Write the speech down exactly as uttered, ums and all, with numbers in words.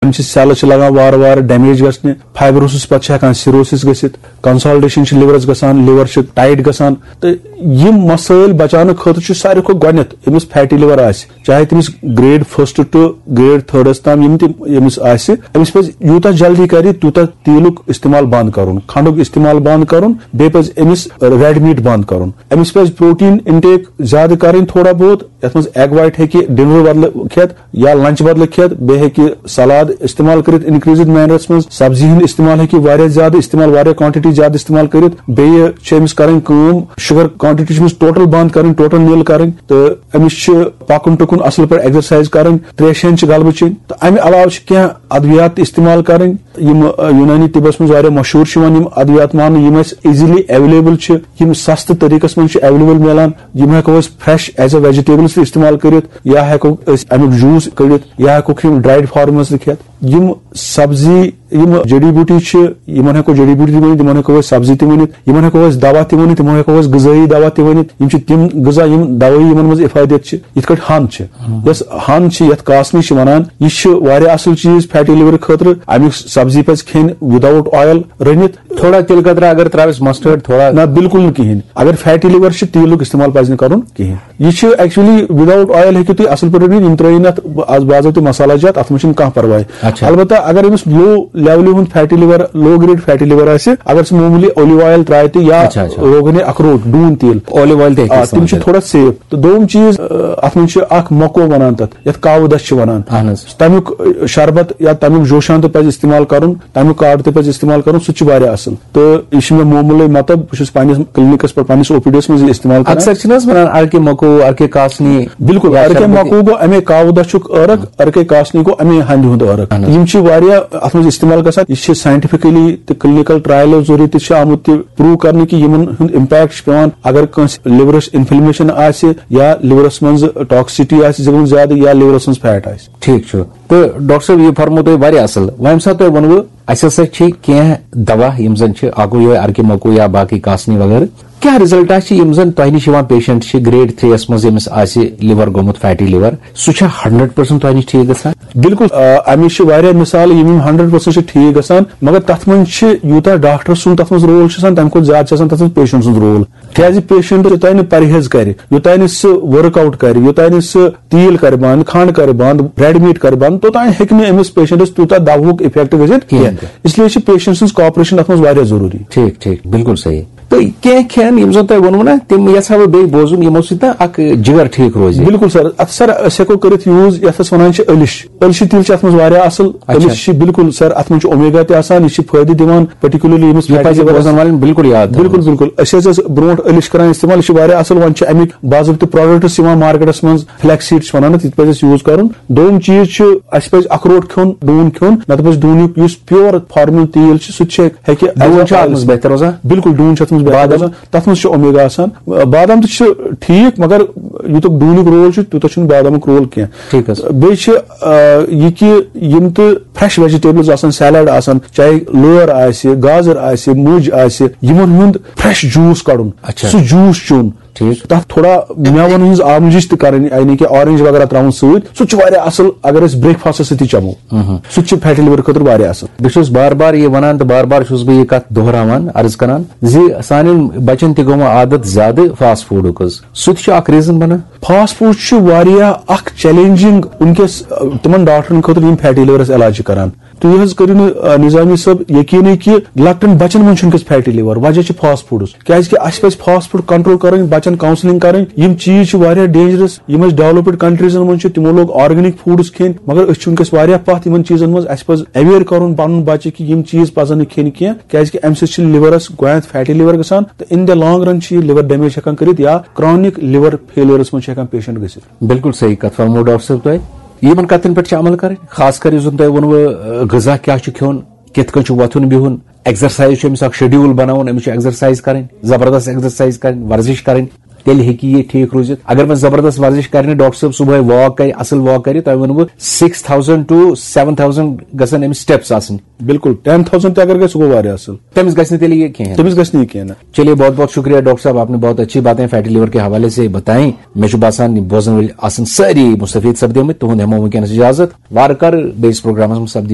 أمۍ چھِ سیلہٕ چھِ لگان وارٕ وارٕ ڈیمیج گژھنہِ، فائبروسس پتہٕ چھِ ہٮ۪کان سیروسس گٔژھِتھ، کنسالڈیشن چھِ لورس گژھان، لور چھِ ٹائٹ گژھان۔ تہٕ یِم مسائل بچاونہٕ خٲطرٕ چھُ ساروی کھۄتہٕ گۄڈٕنٮ۪تھ أمِس فیٹی لور آسہِ، چاہے تٔمِس گریڈ فرسٹ ٹو گریڈ تھرڈس تام یِم تہِ أمِس آسہِ، أمِس پزِ یوٗتاہ جلدی کرِ تیوٗتاہ تیٖلُک استعمال بند کرُن، کھنڈُک استعمال بند کرُن، بیٚیہِ پزِ أمِس ریڈ میٹ بند کرُن۔ أمِس پزِ پروٹین انٹیک زیادٕ کرٕنۍ تھوڑا بہت، یتھ منٛز ایگ وائٹ ہیٚکہِ ڈنر بدلہٕ کھٮ۪تھ یا لنچ بدلہٕ کھٮ۪تھ، بیٚیہِ ہیٚکہِ سلاد استعمال کٔرِتھ انکریزڈ مینرس منٛز، سبزی ہُنٛد استعمال ہیٚکہِ واریاہ زیادٕ استعمال، واریاہ کوانٹٹی زیادٕ استعمال کٔرِتھ۔ بیٚیہِ چھِ أمِس کرٕنۍ کٲم، شوگر کوانٹٹی چھِ أمِس ٹوٹل بند کرٕنۍ، ٹوٹل نِل کرٕنۍ، تہٕ أمِس چھِ پکُن ٹُکُن اصل پٲٹھۍ، ایگزرسائز کرٕنۍ، تریشہِ ہن چھِ غلبہٕ چیٚنۍ۔ تہٕ امہِ علاوٕ چھِ کینٛہہ ادویات تہِ استعمال کرٕنۍ، یِم، آ، یونانی طبس منٛز واریاہ مشہوٗر چھِ یِوان، یِم ادویات ماننہٕ، یِم اسہِ ایزیلی اویلیبل چھِ، یِم سستہٕ طریقس منٛز چھِ اویلیبل میلان۔ یِم ہٮ۪کو أسۍ فریش ایز اے ویجیٹیبلز تہِ استعمال کٔرِتھ، یا ہٮ۪کو أسۍ امیُک جوٗس کٔڑِتھ، یا ہٮ۪کوکھ یِم ڈرائیڈ فارمس تہِ کھٮ۪تھ۔ یِم سبزی، یِم جڑی بوٗٹی چھِ، یِمن ہٮ۪کو جڑی بوٗٹی تہِ ؤنِتھ، یِمن ہٮ۪کو أسۍ سبزی تہِ ؤنِتھ، یِمن ہٮ۪کو أسۍ دوا تہِ ؤنِتھ، یِمن ہٮ۪کو أسۍ غذٲیی دوا تہِ ؤنِتھ۔ یِم چھِ تِم غذا یِم دوٲیی یِمن منٛز افادیت چھِ، یِتھ کٲٹھۍ ہَن چھِ۔ یۄس ہَن چھِ، یتھ کاسنی چھِ ونان، یہِ چھِ واریاہ اصل چیٖز فیٹی لور خٲطرٕ۔ امیُک سبزی پزِ کھیٚنۍ وداؤٹ آیل رٔنِتھ۔ تھوڑا تِلہٕ قطرہ اگر ترٛاوٮ۪س، مسٹٲرڈ تھوڑا۔ نہ، بالکل نہٕ کِہیٖنۍ۔ اگر فیٹی لور چھِ، تیٖلُک استعمال پزِ نہٕ کرُن کِہیٖنۍ۔ یہِ چھِ ایکچولی وداؤٹ آیل ہیٚکِو تُہۍ اصل پٲٹھۍ رٔنِتھ، یِم ترٲیِو نہٕ اتھ باضٲبطہٕ مسالہ جات، اتھ منٛز چھُنہٕ کانٛہہ پرواے۔ اچھا۔ البتہ اگر أمِس لو لیولہِ ہُنٛد فیٹی لور، لو گریڈ فیٹی لور آسہِ، اگر سُہ معموٗلی اولیو آیل ترٛایہِ تہِ یا اچھا، اچھا۔ روغنِ اخروٹ، ڈوٗن تیٖل، اولیو آیل تہِ ہیٚکہِ آ، تِم استعمال چھِ کٔرِتھ۔ تھوڑا سیف۔ تہٕ دوٚیُم چیٖز، آ، اتھ منٛز چھِ اکھ مکو ونان تتھ، یتھ کاوٕ دچھ چھِ ونان۔ اہن حظ۔ تمیُک، آ، شربت یا تمیُک جوشان تہِ پزِ استعمال کرُن، تمیُک کاڑ تہِ پزِ استعمال کرُن، سُہ تہِ چھُ واریاہ اصل۔ تہٕ یہِ چھُ مےٚ معموٗلٕے، مطلب، بہٕ چھُس پننِس کلینکس پٮ۪ٹھ، پننِس او پی ڈی یس منٛز یہِ استعمال کران۔ اکثر چھِنہٕ حظ ونان، اَرکہِ مکو، اَرکہِ کاسنی؟ بالکل، یا اَرکہِ شربت؟ مکو گوٚو امے کاوٕ دچھُک عٲرق، اَرکہِ کاسنی گوٚو امے ہندِ ہُنٛد عٲرق۔ اہن حظ۔ یِم چھِ واریاہ اتھ منٛز استعمال گژھان۔ یہِ چھِ ساینٹیفکلی تہٕ کلینکل ٹرایلو ذٔریعہٕ تہِ چھِ آمُت تہِ پروو کرنہٕ کہِ یِمن ہُنٛد امپیکٹ چھُ پٮ۪وان اگر کٲنٛسہِ لورس انفلمیشن آسہِ یا لورس منٛز ٹاکسٹی آسہِ زیادٕ یا لورس منٛز فیٹ آسہِ۔ ٹھیٖک چھُ۔ تہٕ ڈاکٹر صٲب، یہِ فرموو تۄہہِ واریاہ اصل۔ وۄنۍ ییٚمہِ ساتہٕ تۄہہِ ووٚنوٕ، اسہِ ہسا چھِ کینٛہہ دوا، یِم زن چھِ، اکھ گوٚو یِہوٚے ارکہِ مکو یا باقٕے کاسنی وغٲرٕ۔ کیٛاہ رِزلٹا چھِ، یِم زن تۄہہِ نِش یِوان پیشنٹ چھِ گریڈ تھری یس منٛز، ییٚمِس آسہِ لِور گوٚمُت فیٹی لِور، سُہ چھا ہنڈریڈ پرسنٹ تۄہہِ نِش ٹھیٖک گژھان؟ بالکل، آ، اَمِچ چھِ واریاہ مثال، یِم یِم ہنڈریڈ پرسنٹ چھِ ٹھیٖک گژھان، مگر تتھ منٛز چھِ یوٗتاہ ڈاکٹر سُنٛد تتھ منٛز رول چھُ آسان، تمہِ کھۄتہٕ زیادٕ چھُ آسان تتھ منٛز پیشنٹ سُنٛد رول۔ کیازِ پیشنٹ یوٚتانۍ نہٕ پرہیز کرِ، یوٚتانۍ نہٕ سُہ ورک آؤٹ کرِ، یوٚتانۍ نہٕ سُہ تیٖل کرِ بند، کھنڈ کرِ بند، ریڈ میٹ کرِ بند، توٚتانۍ ہیٚکہِ نہٕ أمِس پیشنٹس تیوٗتاہ دوہُک افیکٹ گٔژھِتھ کِہیٖنۍ کینٛہہ۔ تہِ۔ اس لیے چھِ پیشنٹ سٕنٛز کوآپریشن اتھ منٛز واریاہ ضروٗری۔ ٹھیٖک، ٹھیٖک، بالکل صحیح۔ تہٕ کینٛہہ کھٮ۪ن یِم زن تۄہہِ ووٚنوٕ نا، تِم یژھا بہٕ بیٚیہِ بوزُن، یِمو سۭتۍ نا اکھ جگر ٹھیٖک روزِ۔ بالکل سر، اتھ سر أسۍ ہٮ۪کو کٔرِتھ یوٗز یتھ أسۍ ونان چھِ ألِش۔ ألشہِ تیٖل چھُ اتھ منٛز واریاہ اصل۔ اچھا۔ ألِش چھِ بالکل سر، اتھ منٛز چھُ اومیگا تہِ آسان، یہِ چھِ فٲیدٕ دِوان، پرٹیکولرلی ییٚمِس یہِ فیٹی پزِ لِورس۔ بوزن والٮ۪ن بالکل یاد تھاوُن۔ بالکل، بالکل۔ أسۍ حظ ٲسۍ برونٛٹھ ألِش کران استعمال، یہِ چھِ واریاہ اصل، وۄنۍ چھِ امیِکۍ باضٲبطہٕ پروڈکٹس یِوان مارکیٹس منٛز، فلیکس سیٖڈ چھِ ونان اتھ، یہِ تہِ پزِ اسہِ یوٗز کرُن۔ دوٚیُم چیٖز چھُ، اسہِ پزِ اخروٹ کھیوٚن، ڈوٗن کھیوٚن، نتہٕ پزِ ڈوٗنیُک یُس پیور فارمل تیٖل چھُ، سُہ تہِ چھُ ہیٚکہِ ڈوٗن چھُ اتھ منٛز بہتر روزان۔ بالکل، ڈوٗن چھُ اتھ منٛز بہتر بادام؟ روزان۔ تتھ منٛز چھُ اومیگا آسان۔ بادام تہِ چھُ ٹھیٖک، مگر یوٗتاہ ڈوٗنیُک رول چھُ، تیوٗتاہ چھُنہٕ بادامُک رول کینٛہہ۔ ٹھیٖک حظ۔ بیٚیہِ چھِ، آ، یہِ کہِ یِم تہِ فریش ویجیٹیبلز آسان، سیلڈ آسان، چاہے لٲر آسہِ، گازر آسہِ، مُج آسہِ، یِمن ہُنٛد فریش جوٗس کڑُن، اچھا۔ سُہ جوٗس چیوٚن۔ ٹھیٖک۔ تتھ تھوڑا مٮ۪وَن ہٕنٛز آملِج تہِ کرٕنۍ، یعنی کہِ اورنج وغیرہ تراوُن سۭتۍ، سُہ تہِ چھُ واریاہ اصل اگر أسۍ بریک فاسٹس سۭتۍ تہِ چمو۔ مہم۔ سُہ تہِ چھُ فیٹی لِور خٲطرٕ واریاہ اصل۔ بہٕ چھُس بار بار یہِ ونان تہٕ بار بار چھُس بہٕ یہِ کتھ دۄہراوان، عرض کران زِ سانٮ۪ن بچن تہِ گوٚو وۄنۍ عادت زیادٕ فاسٹ فوڈُک حظ۔ سُہ تہِ چھُ اکھ ریزن بنان۔ فاسٹ فوڈ چھُ واریاہ اکھ چیلنجنگ وٕنکیٚس، آ، تِمن ڈاکٹرن خٲطرٕ یِم فیٹی لِورس علاج چھِ کران۔ تُہۍ حظ کٔرِو نہٕ، آ، نظامی صٲب یقینٕے کہِ لۄکٹٮ۪ن بچن منٛز چھُ وٕنکیٚس فیٹی لِور، وجہ چھُ فاسٹ فوڈس۔ کیازِ کہِ اسہِ پزِ فاسٹ فوڈ کنٹرول کرٕنۍ، بچن کاؤنسلنگ کرٕنۍ۔ یِم چیٖز چھِ واریاہ ڈینجرس۔ یِم اسہِ ڈیولپڈ کنٹریزن منٛز چھِ، تِمو لوگ آرگینک فوڈس کھیٚنۍ، مگر أسۍ چھِ وٕنکیٚس واریاہ پتھ یِمن چیٖزن منٛز۔ اسہِ پزِ اویئر کرُن پنُن بچہِ کہِ یِم چیٖز پزن نہٕ کھیٚنۍ کینٛہہ، کیازِ کہِ امہِ سۭتۍ چھِ لِورس گۄڈٕنیتھ فیٹی لِور گژھان تہٕ in the long run چھِ یہِ لِور ڈیمیج ہٮ۪کان کٔرِتھ یا کرانک لِور فیلورس منٛز چھِ ہٮ۪کان پیشنٹ گٔژھِتھ۔ بالکل صحیح کتھ فرمو ڈاکٹر صٲب تۄہہِ۔ یِمن کتھن پٮ۪ٹھ چھِ عمل کرٕنۍ، خاص کر یُس زن تۄہہِ ووٚنوٕ، آ، غذا کیٛاہ چھُ کھیوٚن، کِتھ کٔنۍ چھُ وۄتھُن بِہُن، ایکزرسایز چھُ أمِس اکھ شیڈیول بناوُن، أمِس چھُ ایکزرسایز کرٕنۍ، زبردست ایکزرسایز کرٕنۍ، ورزش کرٕنۍ۔ تیٚلہِ ہیٚکہِ یہِ ٹھیٖک روٗزِتھ۔ اگر وۄنۍ زبردست ورزش کرِ نہٕ، ڈاکٹر صٲب صبحٲے واک کرِ، اصل واک کرِ، تۄہہِ ووٚنوٕ six thousand to seven thousand گژھن أمِس steps آسٕنۍ۔ بِلکُل، ten thousand تہِ اگر گژھِ، سُہ گوٚو واریاہ اصل۔ تٔمِس گژھِ نہٕ تیٚلہِ یہِ کینٛہہ۔ تٔمِس گژھِ نہٕ یہِ کینٛہہ نہ۔ چلیے، بہت بہت شکریہ ڈاکٹر صاحب، آپ نے بہت اچھی باتیں فیٹی لیور کے حوالے سے بتائیں۔ مےٚ چھُ باسان، یہِ بوزن وٲلۍ آسن سٲری مستفید سپدیمٕتۍ۔ تُہُنٛد ہٮ۪مو وٕنکیٚنس اجازت۔ وارٕ کارٕ بیٚیِس پروگرامس منٛز سپدِ